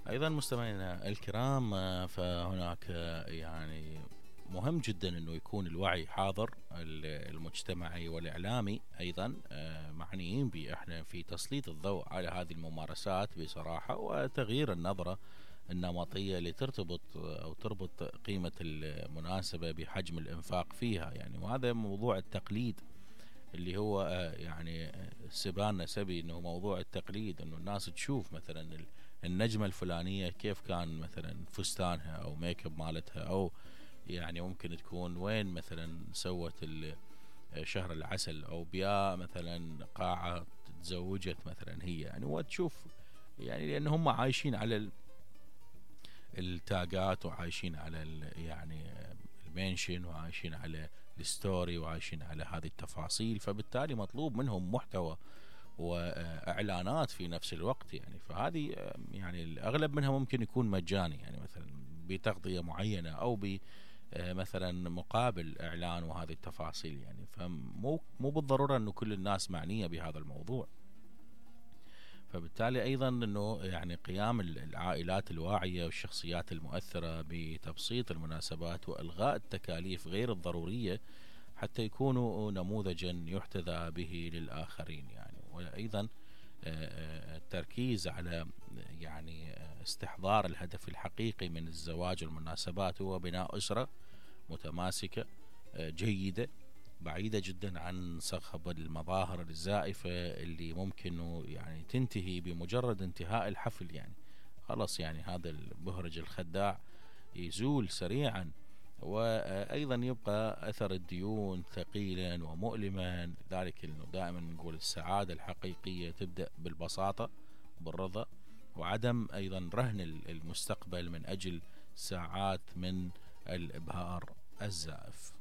أيضا مستمعينا الكرام، فهناك يعني مهم جدا أنه يكون الوعي حاضر، المجتمعي والإعلامي أيضا معنيين بإحنا في تسليط الضوء على هذه الممارسات بصراحة، وتغيير النظرة النمطية اللي ترتبط أو تربط قيمة المناسبة بحجم الإنفاق فيها يعني. وهذا موضوع التقليد اللي هو يعني سبان سبي، انه موضوع التقليد، انه الناس تشوف مثلا النجمة الفلانية كيف كان مثلا فستانها او ميك اب مالتها، او يعني ممكن تكون وين مثلا سوت شهر العسل، او بيا مثلا قاعة تزوجت مثلا هي يعني. وتشوف يعني لان هم عايشين على التاجات، وعايشين على يعني المنشن، وعايشين على الستوري، وعايشين على هذه التفاصيل، فبالتالي مطلوب منهم محتوى واعلانات في نفس الوقت يعني. فهذه يعني الاغلب منها ممكن يكون مجاني يعني، مثلا بتغطية معينة او ب مثلا مقابل اعلان وهذه التفاصيل يعني. فمو بالضرورة انه كل الناس معنية بهذا الموضوع. فبالتالي أيضا أنه يعني قيام العائلات الواعية والشخصيات المؤثرة بتبسيط المناسبات وإلغاء التكاليف غير الضرورية حتى يكونوا نموذجا يحتذى به للآخرين يعني. وأيضا التركيز على يعني استحضار الهدف الحقيقي من الزواج والمناسبات هو بناء أسرة متماسكة جيدة، بعيدة جدا عن صخب المظاهر الزائفة اللي ممكن يعني تنتهي بمجرد انتهاء الحفل يعني. خلاص يعني هذا المهرج الخداع يزول سريعا. وأيضا يبقى أثر الديون ثقيلا ومؤلما. لذلك إنه دائما نقول السعادة الحقيقية تبدأ بالبساطة بالرضا، وعدم أيضا رهن المستقبل من أجل ساعات من الإبهار الزائف.